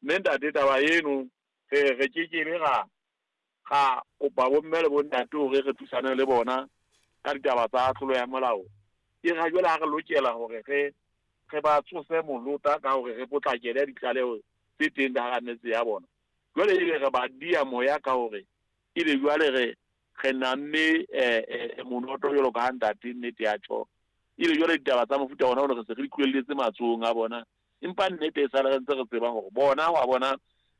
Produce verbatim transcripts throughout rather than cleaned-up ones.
Mme ntate taba eno re re ke ke be ra ga kopa bomme le bontate hore re thusane le bona ka ditaba tsa tlolo ya molao. E ra jwale ha re lokela hore re re ba tsose molota ka hore re potlakele ditlaleho tse teng ka hara metse ya bona. Jwale ebe re ba dia moya ka hore ebe jwale re re namme eh monoto jwalo ka ha ntate nnete ya tjho. Ebe jwale ditaba tsa mofuta ona hore re se re di tlohelletse matsohong a bona. Empa nnete e sale re ntse re tseba hore bona wa bona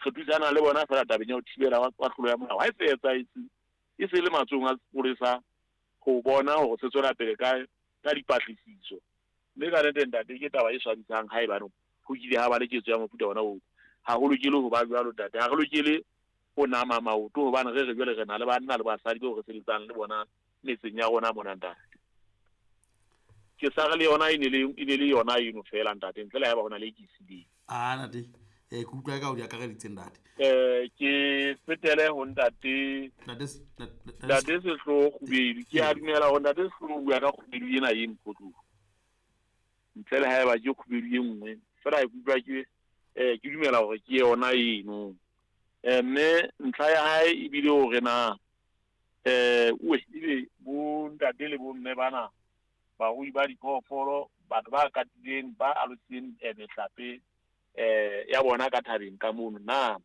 re thusana le bona fela tabeng ya ho thibela wa tlolo ya molao. Ha e se etsahetse e se le matsohong a sepolesa ho bona hore se tswela pele ka ka dipatlisiso. Mme ka nnete ntate ke taba e swabisang haebane ho kile ha ba le ketso ya mofuta ona oo. Ha ho lokele ho ba jwalo ntate, ha re lokele ho nama maoto hobane re re jwale re na le banna le basadi bao re sebetsang le bona metseng ya rona mona ntate. Ke sa re le yona e ne le e ne le yona eno fela ntate, ntle le haeba hona le e ke e sileng. Ah ntate, eh ke utlwa ka o di akareditseng ntate. Eh ke fetele ho ntate Ntate Ntate Sehloho Kgubedu. Ke a dumela hore ntate Sehloho o bua ka kgubedu ena e Mokhotlong. Ntle le haeba ke kgubedu e nngwe, fela ke utlwa ke eh ke dumela hore ke yona eno. Eh mme ntlha ya hae ebile hore na eh oe ebe bo ntate le bo mme bana barui ba diphoofolo, batho ba katileng ba alositseng mehlape eh ya bona ka thabeng ka mono na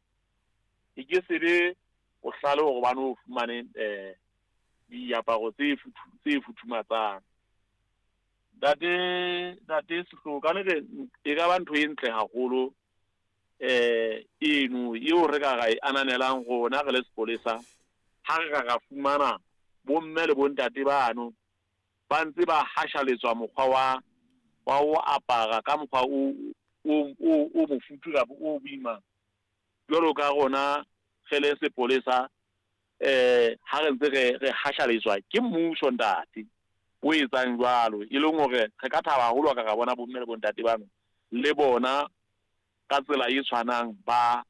e ke sebe bohlale hore ba no fumane eh diaparo tse tse futhumatsang. Ntate ntate Sehloho ka nnete e ka ba ntho e ntle haholo eh eno eo re ka ra e ananelang rona re le sepolesa ha re ka ra fumana bomme le bontate bano ba ntse ba hashaletswa mokgwa wa wa ho apara ka mokgwa o o o o mofuthu kapa o boima jwalo ka rona re le sepolesa eh ha re ntse re re hashaletswa ke mmuso ntate o etsang jwalo, e leng hore re ka thaba haholo ka ra bona bomme le bontate bano le bona ka tsela e tshwanang ba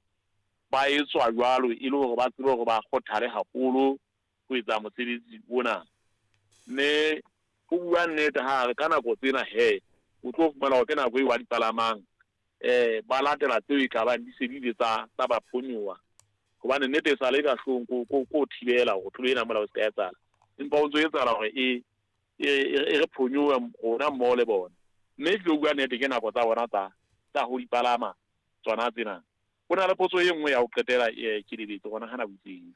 ba etswa jwalo e le hore ba tsebe hore ba kgothale haholo ho etsa mosebetsi ona. Mme ho bua nnete ha re ka nako tsena he o tlo fumana hore ke nako eo ba di palamang eh ba latela tseo e ka bang di se di ile tsa tsa ba phonyoha. Hobane nnete e sale ka hlong ko ko ko thibela hore tlolo ena molao e se ka etsahala, empa o ntso etsahala hore e e e re phonyohe rona mmoho le bona. Mme ke tlo bua nnete ke nako tsa bona tsa tsa ho di palama tsona tsena. Ho na le potso e nngwe ya ho qetela ke lebetse hona ha nako e itseng.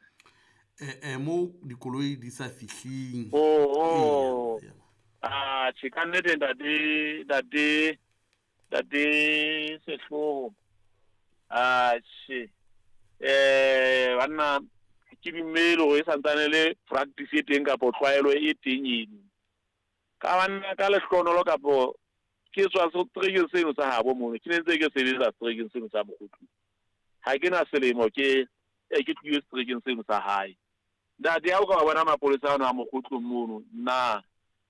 Eh eh mo dikoloi di sa fihling. Oh oh. Ah che ka nnete ntate ntate ntate Sehloho. Ah che eh banna ke dumele hore e santsane le practice e teng kapa tlwaelo e teng eno. Ka banna ka lehlohonolo kapo ke tswa seterekeng seno sa habo mono, ke ne ntse ke sebetsa seterekeng seno sa Mokhotlong. Ha ke na selemo ke e ke tlohile seterekeng seno sa hae. Ntate ha o ka bona mapolesa ano a Mokhotlong mono na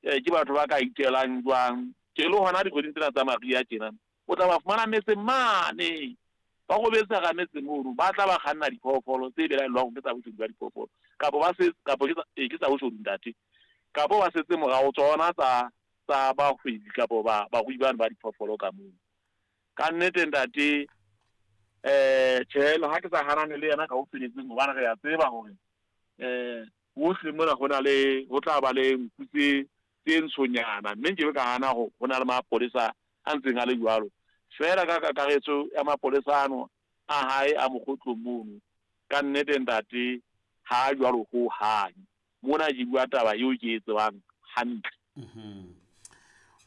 ke batho ba ka itelang jwang? Ke le hona dikgweding tsena tsa mariha tjena o tla ba fumana metseng mane ba robetse hara metse mono, ba tla ba kganna diphoofolo tse belaellwang ke tsa boshodu ba diphoofolo kapo ba se kapo ke tsa ke tsa boshodu ntate, kapo ba setse morao tsona tsa tsa bahwebi kapo ba barui bano ba diphoofolo ka mono. Ka nnete ntate eh tjhe ha ke sa hanane le yena ka ho feletseng hobane re a tseba hore eh hohle mona ho na le ho tla ba le nku tse tse ntshonyana, mme nke be ka hana ho ho na le mapolesa a ntseng a le jwalo. Fela ka kakaretso ya mapolesa ano a hae a Mokhotlong mono ka nnete ntate ha jwalo ho hang. Mona ke bua taba eo ke e tsebang hantle. Mhm.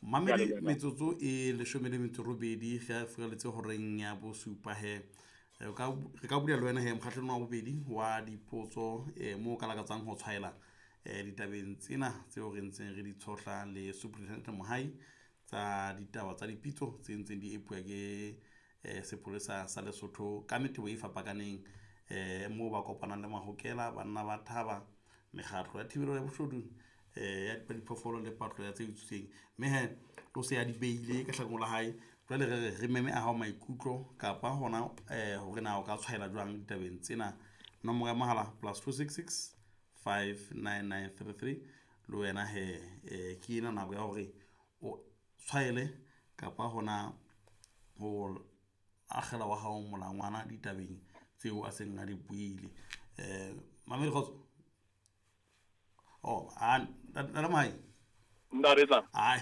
Mamedi metsotso e leshome le metso robedi ge a furaletse horeng ya bosupa he. Re ka re ka bula le wena he mokgahlelong wa bobedi wa dipotso eh mo ka lakatsang ho tshwaela eh ditabeng tsena tseo re ntseng re di tshohla le Superintendent Mohai tsa ditaba tsa dipitso tse ntseng di epuwa ke eh sepolesa sa Lesotho ka metebo e fapakaneng eh moo ba kopanang le mahokela, banna ba thaba, mekgatlo ya thibelo ya boshodu eh ya diphoofolo le patlo ya tse utswitsweng. Mme he o se a di beile ka hlakong la hae. Jwale re re re meme a hao maikutlo kapa hona eh hore na o ka tshwaela jwang ditabeng tsena. Nomoro ya mohala plus two six six five nine nine three three le wena he eh ke ena nako ya hore o tshwaele kapa hona ho akgela wa hao molangwana ditabeng tseo a seng a di buile. Um mamedi kgotso oh a ntate Mohai ntate tla ai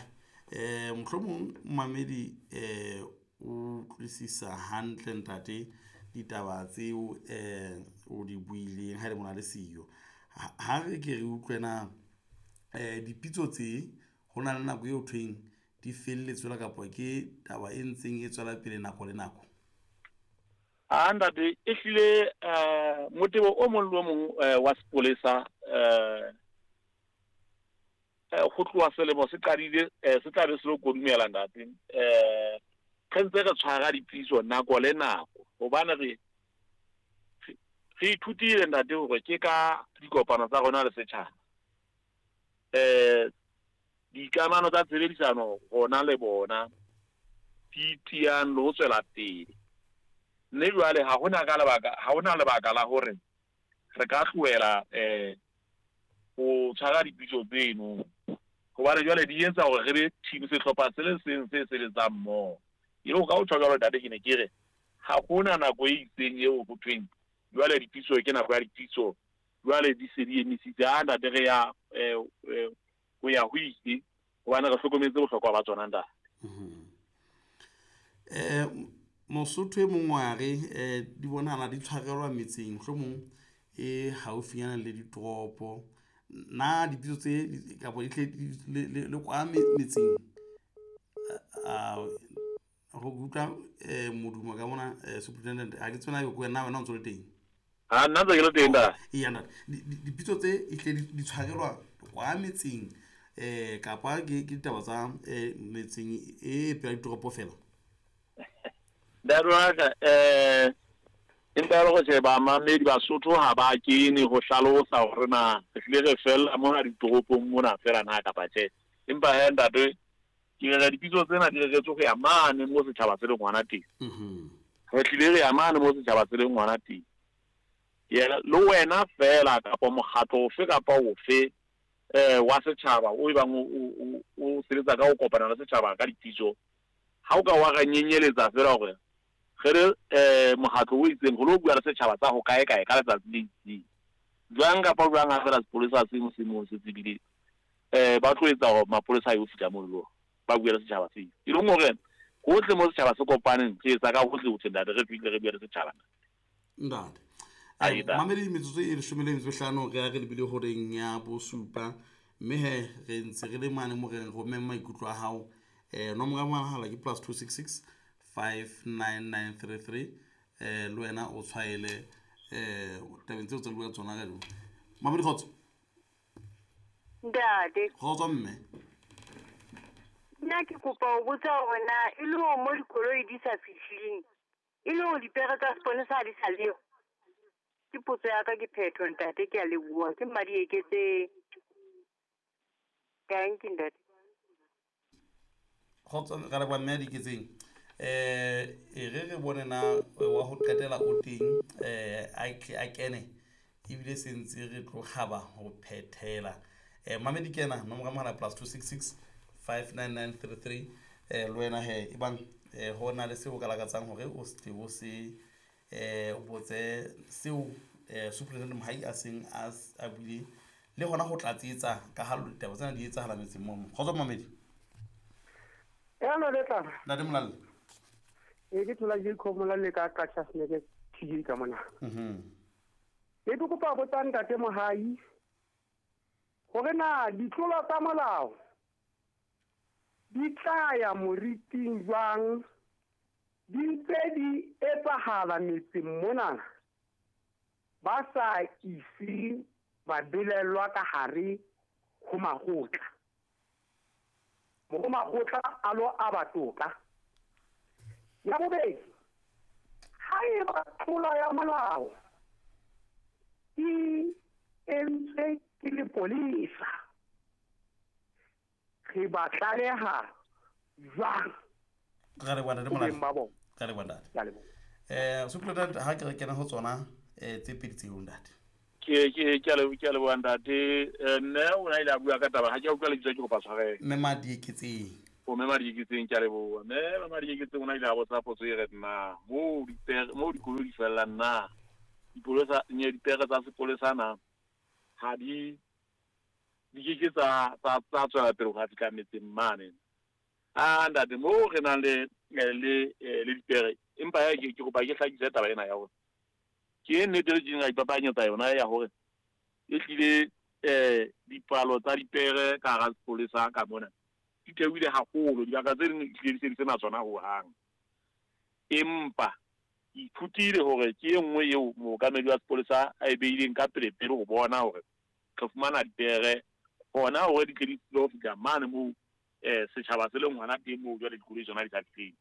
eh mohlomong mamedi eh o utlwisisa hantle ntate ditaba tseo eh o di buileng ha le mona le siyo. Ha re ke re utlwe na eh dipitso tse ho na le nako eo thweng di felletse la kapa ke taba e ntseng e tswela pele nako le nako? A ntate e hlile eh motebo o mong le o mong wa sepolesa eh ho tloha selemo se qadile se tla be se lo kodumela ntate. Eh re ntse re tshwara dipitso nako le nako hobane re re ithutile ntate hore ke ka dikopano tsa rona le setjhaba eh dikamano tsa tshebedisano rona le bona di tiyang le ho tswela pele. Mme jwale ha hona ka lebaka ha hona lebaka la hore re ka tlohela eh ho tshwara dipitso tseno hobane jwale di etsa hore re be team sehlopha se le seng se sebetsang mmoho. E le ho ka o tjho jwalo ntate ke ne ke re ha hona nako e itseng eo ho thweng jwale dipitso ke nako ya dipitso jwale di se di emisitse. A ntate re ya ho ya ho itse hobane re hlokometse bohlokwa ba tsona ntate. Eh Mosotho e mong wa re eh di bonahala di tshwarelwa metseng mohlomong e haufinyana le ditoropo. Na dipitso tse kapa di tle le kwa metseng a ho utlwa modumo ka mona superintendent ha ke tsena go wena wena o ntse le teng? Ha nna ntse ke le teng da. Eya ntate dipitso tse e tle di tshwarelwa kwa metseng eh kapa ke ke ditaba tsa metseng e pela ditoropo fela? Ntate wa ka eh empa le go sheba mamedi Basotho ha ba kene ho hlalosa hore na re hlile re fella mona ditoropong mona fela na kapa tjhe. Empa he ntate ke re dipitso tsena di reretswe ho ya mane mo setjhaba se leng hona teng. Re hlile re ya mane mo setjhaba se leng hona teng. Yena le wena fela kapa mokgatlo ofe kapa ofe eh wa setjhaba o ebang o o sebetsa ka ho kopana le setjhaba ka dipitso ha o ka wa ra nyenyeletsa fela hore re re eh mokgatlo o itseng ho lo bua le setjhaba tsa ho kae kae ka letsatsi le itseng jwang kapa jwang ha fela sepolesa se mo se mo se tsebile eh ba tlo etsa hore mapolesa a yo fihla moo le ba bua le setjhaba se e leng hore hohle mo setjhaba se kopaneng re etsa ka hohle hohle ntate re fihle re bua le setjhaba ntate. Mamedi metsotso e leshome le metso e hlano re a re lebile horeng ya bosupa mme he re ntse re le mane mo re romeng maikutlo a hao. Eh nomoro ya mohala ke plus two six six five nine nine three three eh le wena o tshwaele eh tabeng tseo tse bua tsona ka jeno. Mamedi kgotso. Ntate. Kgotso mme. Nna ke kopa ho botsa hore na e le hore mo dikoloi di sa fihleng e le hore dipere tsa sepolesa ha di sa leyo? Ke potso ya ka ke phetho ntate, ke a leboha. Ke madi eketse. Thank you ntate. Kgotso re leboha mme Diketseng. Eh e re re bone na wa ho qetela o teng eh a kene ebile se ntse re tlo kgaba ho phethela. Eh mamedi kena nomoro ya mohala plus two six six five nine nine three three eh le wena he ebang eh ho na le seo o ka lakatsang hore o se o se eh o botse seo eh superintendent Mohai a seng a a buile le hona ho tlatsetsa ka ha ditaba tsena di etsahala metseng mo. Kgotso mamedi. Hello le tla. Ntate Molalle. E ke thola Jacob Molalle ka Qacha Snake T V ka mona. Mhm. Ke kopa botsa ntate Mohai hore na ditlolo tsa molao di tla ya moriting jwang di ntse di etsahala metseng mona ba sa ise ba belellwa ka hare ho makgotla. Mo makgotla a lo a batoka. Ya bobedi, ha eba tlolo ya molao e entswe ke lepolesa, re ba tlaleha jwang? Re leboha ntate Molalle. Re leboha ntate. Eh superintendent ha ke re kena ho tsona eh tse pedi tseo ntate. Ke ke ke le ke leboha ntate. Mme o na ile a bua ka taba ha ke utlwa lebitso ke kopa tshwarelo. Mme Madieketseng. O mme Madieketseng ke a leboha. Mme Madieketseng o na ile a botsa potso e re na moo dipere moo dikoloi di fellang na dipolesa nye dipere tsa sepolesa na ha di di ke ke tsa tsa tsa tswela pele ho fihla metseng mane. A ntate moo re nang le le le dipere empa ya ke ke kopa ke hlakise taba ena ya hore ke nnete le tjena ipapanyetsa yona ya hore e hlile eh dipalo tsa dipere ka hara sepolesa ka mona di theohile haholo, dibaka tse ding ehlile di se di sena tsona hohang. Empa ke ithutile hore ke e nngwe eo mookamedi wa sepolesa a e beileng ka pele pele ho bona hore re fumana dipere hona hore di tle di tlo fihla mane moo eh setjhaba se leng hona teng moo jwale dikoloi tsona di sa fihleng.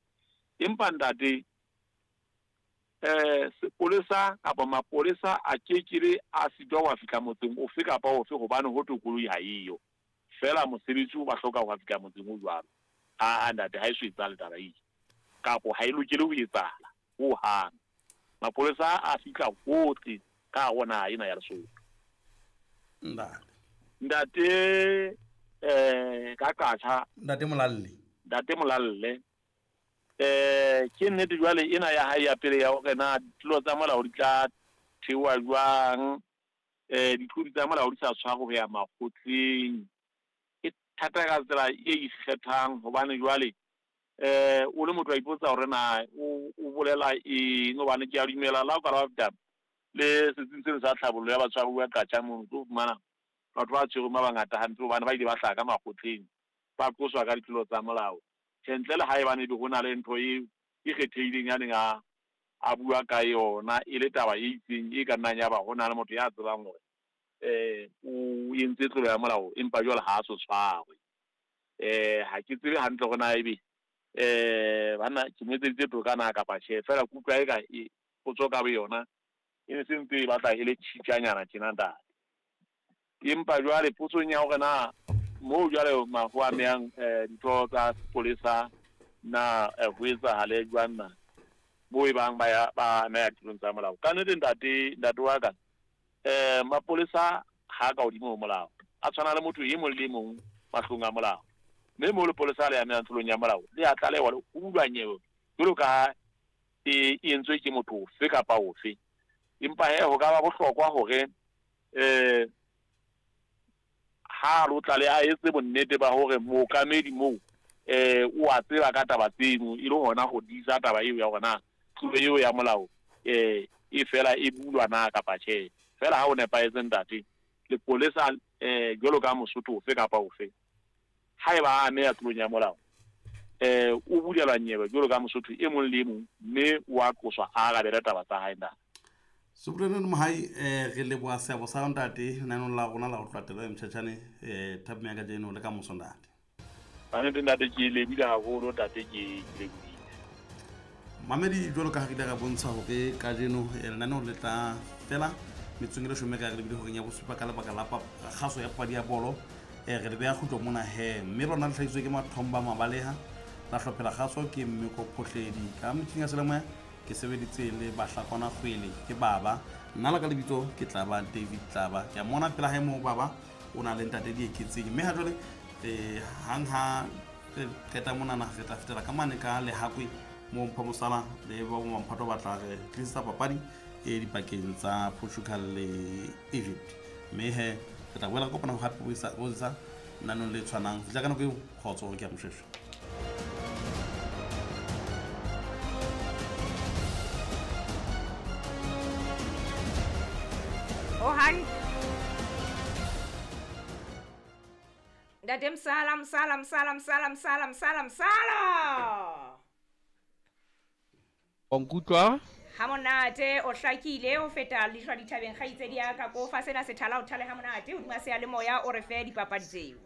Empa ntate eh sepolesa kapa mapolesa a kekele a sitwa ho fihla motseng ofe kapa ofe hobane ho thwe koloi ha eyo. Fela mosebetsi o ba hloka ho fihla motseng o jwalo. A ntate ha e so etsahale taba eo kapo ha e lokele ho etsahala hohang. Mapolesa a fihla hohle ka hare ho naha ena ya Lesotho. Ntate. Ntate eh ka qatjha. Ntate Molalle. Ntate Molalle. Eh ke nnete jwale ena ya hae ya pele ya hore na ditlolo tsa molao di tla theoha jwang, eh ditlolo tsa molao di sa tshwarwe ho ya makgotleng. E thata ka tsela e ikgethang hobane jwale eh o le motho a ipotsa hore na o o bolela eng hobane ke a dumela la o ka la fihla le setsing seno sa tlhabollo ya batshwaruwa Qacha mono tlo fumana batho ba tshwerweng ba bangata hampe hobane ba ile ba hlaha ka makgotleng ba qoswa ka ditlolo tsa molao. Tjhe, ntle le haebane ebe ho na le ntho e e kgethehileng ya neng a a bua ka yona e le taba e itseng e ka nnang ya ba ho na le motho ya tsebang hore eh o entse tlolo ya molao empa jwale ha a so tshwarwe. Eh ha ke tsebe hantle hore na ebe eh bana ke mo etseditse toka na kapa tjhe, fela ke utlwa eka e potso ka boyona e ne se ntse e batla e le tjhitjanyana tjena ntate. Empa jwale potsong ya hore na moo jwale mafu a amehang eh ditho tsa sepolesa na ho etsahale jwang na moo e bang ba ya ba ameha ditlolong tsa molao. Ka nnete ntate ntate wa ka eh mapolesa ha ka hodimo ho molao, a tshwana le motho e mong le e mong mahlong a molao. Mme moo lepolesa le amehang tlolong ya molao le a tlalewa le ho bulwa nyewe jwalo ka ha e entswe ke motho ofe kapa ofe. Empa he ho ka ba bohlokwa hore eh ha lo tlale a etse bonnete ba hore mookamedi moo eh o a tseba ka taba tseno e le hona ho disa taba eo ya hore na tlolo eo ya molao eh e fela e bulwa na kapa tjhe. Fela ha o nepahetse ntate lepolesa eh jwalo ka Mosotho ofe kapa ofe haeba a ameha tlolong ya molao eh o bulelwa nyewe jwalo ka Mosotho e mong le e mong mme o a qoswa a arabele taba tsa hae ntate. Superintendent Mohai eh re leboha seabo sa ntate lenaneng la rona la ho tlatela mtjhatjhane eh thapeng ya kajeno le ka moso ntate. Ba nnete ntate ke lebile haholo ntate ke ke lebile. Mamedi jwalo ka ha re ile ra bontsha hore kajeno lenaneo le tla fela metsong e leshome ka re lebile horeng ya bosupa ka lebaka la kgaso ya papadi ya bolo eh re le beha kgutlo mona he mme lona le hlahisitswe ke Mathomba Mabaleha la hlophela kgaso ke Mmeko Phohledi ka metjhini ya selemoya ke sebeditse le Bahlakwana Kgwele ke baba nna la ka lebitso ke Tlaba David Tlaba ke a mona pela hae moo baba o na le ntate Dieketseng mme ha jwale eh hang ha re qeta monana re tla fetela ka mane ka Lehakwe moo Mpho Mosala le ba bo Mamphato ba tla re tlisa papadi e dipakeng tsa Portugal le Egypt mme he re tla boela re kopana hape ho isa ho isa nanong le tshwanang fihla ka nako eo kgotso ke a moshweshwe. Ntate Msala, Msala, Msala, Msala, Msala, Msala, Msala. O nkutlwa? Ha monate o hlakile o feta lehlwa dithabeng kgaitsedi ya ka ko fa sena sethala o thale ha monate hodima seyalemoya o re fe dipapadi tseo.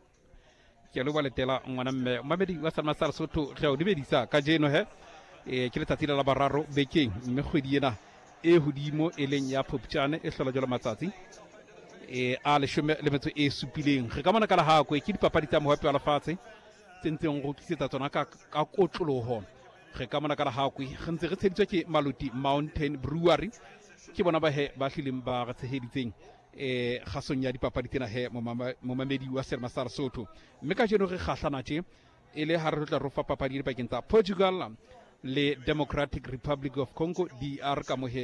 Ke a leboha letela ngwana mme mamedi wa Salma sa Lesotho re a o dumedisa kajeno he eh ke letsatsi la boraro bekeng mme kgwedi ena e hodimo e leng ya Phupjane e hlola jwalo matsatsi e a leshome le metso e supileng re ka mona ka Lehakwe ke dipapadi tsa mohape wa lefatshe tse ntseng go tlisetsa tsona ka ka kotloloho re ka mona ka Lehakwe re ntse re tsheditswe ke Maluti Mountain Brewery ke bona ba he ba hlileng ba re tsheheditseng eh kgasong ya dipapadi tsena he momamedi wa Selma sa Lesotho mme kajeno re kgahlana tje E le ha re tla ro fa papadi dipakeng tsa Portugal le Democratic Republic of Congo, D R, ka mohe.